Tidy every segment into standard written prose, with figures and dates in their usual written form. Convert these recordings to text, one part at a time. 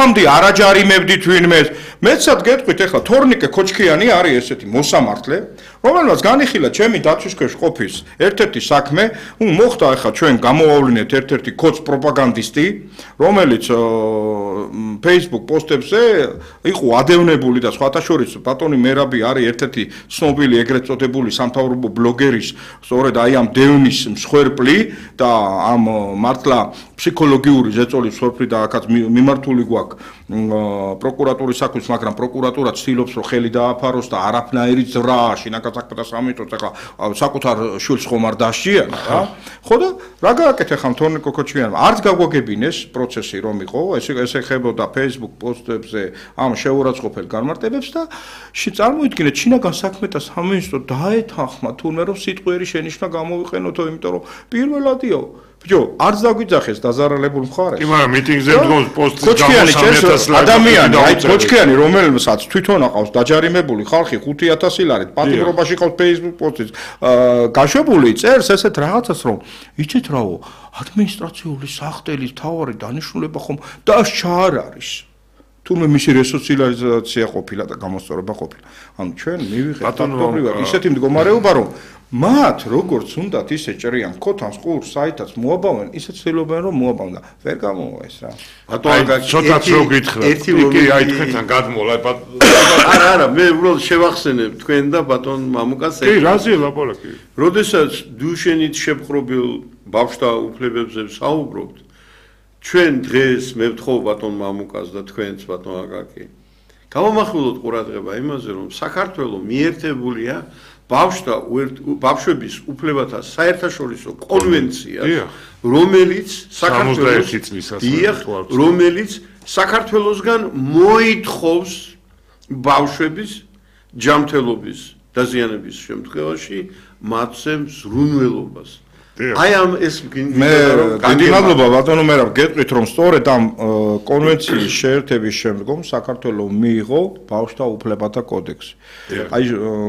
ხომამდე არ აჯარიმებდით ვინმეს. მეცად გეტყვით ახლა თორნიკე ქოჩქიანი არის ესეთი მოსამართლე, რომელმაც განიხილა ჩემი დაცვის ქვეშ ყოფის ერთ-ერთი საქმე, მოხდა ახლა ჩვენ გამოვავლინეთ ერთ-ერთი ქოც პროპაგანდისტი, რომელიც Facebook პოსტებზე იყო ადევნებული და სხვათა შორის ბატონი მერაბი არის ერთ-ერთი ცნობილი ეგრეთ წოდებული სამთავრობო ბლოგერის, სწორედ აი ამ დევნის მსხვერპლი და ამ მართლა ფსიქოლოგიური ზეწოლის მსხვერპლი და აქაც მიმართული გვაქვს პროკურატურის საქმის, მაგრამ პროკურატურა ცდილობს რომ ხელი დააფაროს და არაფნაირი ძრა შინაგან საქმეთა სამინისტროს ახლა საკუთარ შვილს ხომ არ დასჭიანა რა. ხო და რა გააკეთე ხა თორნიკე ქოჩქიანმა? არც გაგვაგებინეს პროცესი რომ იყო, ეს ეხებოდა Facebook პოსტებზე ამ შეურაცხყოფელ განმარტებებს და წარმოიდგინეთ შინაგან საქმეთა სამინისტრო დაეთანხმა თურმე რომ სიტყვიერი შენიშვნა გამოვიყენოთო, იმიტომ რომ პირველადიო ბიჭო, არც დაგვიძახეს დაზარალებულ მხარეს. კი, მაგრამ მიტინგზე დგოს პოსტის გამოსამეთას ადამიანი, აი ქოჩქიანი, რომელსაც თვითონ აყავს დაჯარიმებული ხალხი 5000 ლარით, პატიმრობაში ყავს Facebook პოსტის გაშვებული წერს ესეთ რაღაცას რომ იცით რაო, ადმინისტრაციული სახტელის მთავარი დანიშნულება ხომ დასჭა არ არის. თუმცა მისი რესოციალიზაცია ყოფილა და გამოსწორება ყოფილა. ანუ ჩვენ მივიღეთ ფაქტობრივად ისეთი მდგომარეობა რომ მათ როგორც უნდათ ისე ჭრიან ქოთანს ყურს საითაც მოაბავენ, ისე ცდილობენ რომ მოაბავნა. ვერ გამოვა ეს რა. ბატონო ცოტაც რო გითხრათ. კი, აი თქვენთან გადმოლა. არა, მე უბრალოდ შევახსენებ თქვენ და ბატონ მამუკას. კი, რაზეა ლაპარაკი? როდესაც დუშენით შეპყრობილ ბავშვთა უფლებებზე საუბრობთ, ჩვენ დღეს მე ვთხოვ ბატონ მამუკას და თქვენც ბატონ აკაკი. გავამახვილოთ ყურადღება იმაზე, რომ საქართველოს მიერთებულია ბავშვების უფლებათა საერთაშორისო კონვენცია, რომელიც საქართველოსგან მოითხოვს ბავშვების ჯანმრთელობის დაზიანების შემთხვევაში მათზე მზრუნველობას. აი ამ ეს მე დიდი მადლობა ბატონო მერაბ გეტყვით რომ სწორედ ამ კონვენციის შეერთების შემდგომ საქართველოს მიიღო ბავშვთა უფლებათა კოდექსი. აი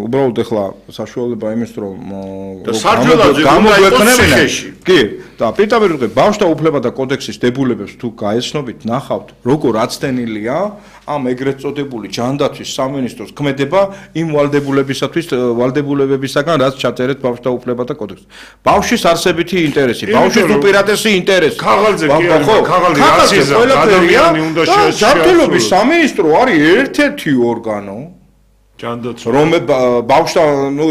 უბრალოდ ახლა საშუალება იმის რომ გამოგვექნებინა. კი, და პირდაპირ ვიტყვი ბავშვთა უფლებათა კოდექსის დებულებებს თუ გაეცნობით, ნახავთ როგორ აცდენილია ამ ეგრეთ წოდებული ჯანდაცვის სამინისტროს ქმედება იმ ვალდებულებებისაგან რაც ჩაწერეთ ბავშვთა უფლებათა კოდექსში. ბავშვის არსებითი ინტერესი, ბავშვის უპირატესი ინტერესი. ქაღალდზე კი არა, ქაღალდი რაციზა, ადამიანი უნდა შეესწავლოს. ჯანმრთელობის სამინისტრო არის ერთ-ერთი ორგანო, ჯანდაცვა. რომ ბავშვთა,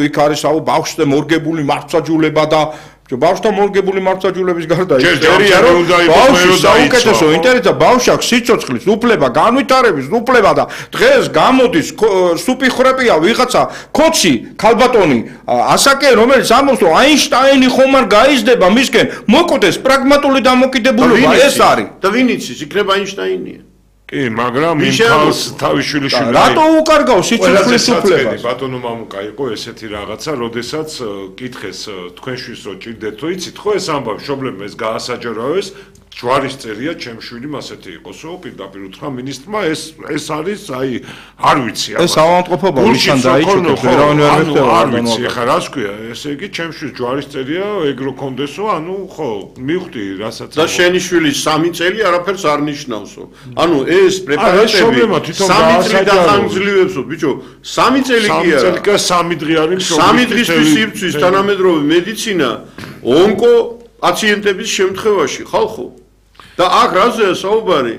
იქ არის ბავშვზე მორგებული მართლმსაჯულება და ბავშვთა მორგებული მართლმსაჯულების გარდა ისერია რომ ბავშვის საუკეთესო ინტერესია ბავშვს აქვს სიცოცხლის უფლება, განვითარების უფლება და დღეს გამოდის სუპიხრეპია ვიღაცა ქოჩი ქალბატონი ასაკე რომელიც ამბობს რომ აინშტაინი ხომ არ გაიზრდება მისკენ მოკვდეს პრაგმატული დამოკიდებულება ეს არის და ვინ იცის იქნება აინშტაინია კი, მაგრამ იმ ხალხს თავის შვილიში რატო უკარგავს სიცოცხლის უფლებას? ბატონო მამუკა იყო ესეთი რაღაცა, როდესაც კითხეს თქვენშვილს რო ჭირდეთ, თუ იცით ხო ეს ამბავი, შობლებმა ეს გაასაჯაროეს, ჯვარის წერია ჩემ შვილიმ ასეთი იყოსო, პირდაპირ უთხრა მინისტრმა, ეს არის, აი, არ ვიცი ამას. ეს ავადმყოფობა ვისთან დაიჭირეთ, ვერავინ ვერ მეხდება. არ ვიცი, ხა რას ქვია, ესე იგი ჩემ შვილს ჯვარის წერია, ეგრო კონდესო, ანუ ხო, მივხვდი, რასაც. და შენი შვილი 3 წელი არაფერს არ ნიშნავსო. ანუ ეს პრეპარატები 3 წელი დახანგრძლივებსო, ბიჭო, 3 წელი კი არა. 3 წელი კი 3 დღე არის მშობლის. 3 დღისთვის იბრძვის თანამედროვე მედიცინა ონკო პაციენტების შემთხვევაში, ხალხო. და აქ რაზეა საუბარი?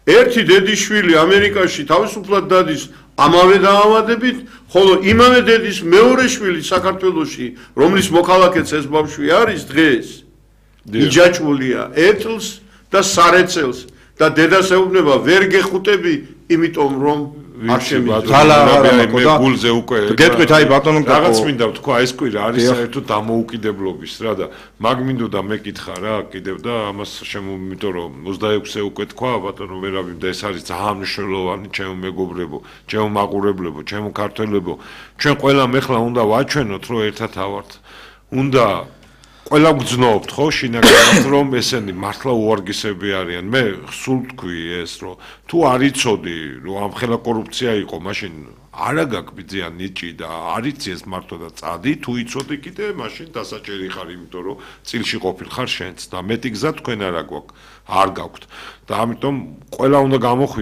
ერთი დედიშვილი ამერიკაში თავისუფლად დადის ამავე დაავადებით, ხოლო იმავე დედის მეორე შვილი საქართველოში, რომლის მოქალაქეც ეს ბავშვი არის დღეს, იჯაჭვულია ეთლს და სარეცელს და დედას ეუბნება ვერ გეხუტები, იმიტომ რომ არ შემიძლია გულზე უკვე გეტყვით აი ბატონო რაღაც მინდა ვთქვა ეს კვირა არის საერთოდ დამოუკიდებლობის რა და მაგ მინდოდა მეკითხა რა კიდევ და ამას იმიტომ რომ 26-ე უკვე თქვა ბატონო მერაბი და ეს არის ძალიან მნიშვნელოვანი ჩემო მეგობრებო, ჩემო მაყურებლებო, ჩემო ქართველებო, ჩვენ ყველამ ეხლა უნდა ვაჩვენოთ რომ ერთად ავართ. უნდა ყველა გძნობთ ხო შინაგანად რომ ესენი მართლა უარგისები არიან. მე სულ თქვი ეს რომ თუ არ იცოდი რომ ამ ხელა კორუფცია იყო, მაშინ არა გაგბიძიან ნიჭი და არ იცი ეს მართლა და წადი, თუ იცოდი კიდე მაშინ დასაჭერი ხარ, იმიტომ რომ წილში ყოფილ ხარ შენც და მეტი გზა თქვენ არ გაქვთ და ამიტომ ყველა უნდა გამოხვიდეთ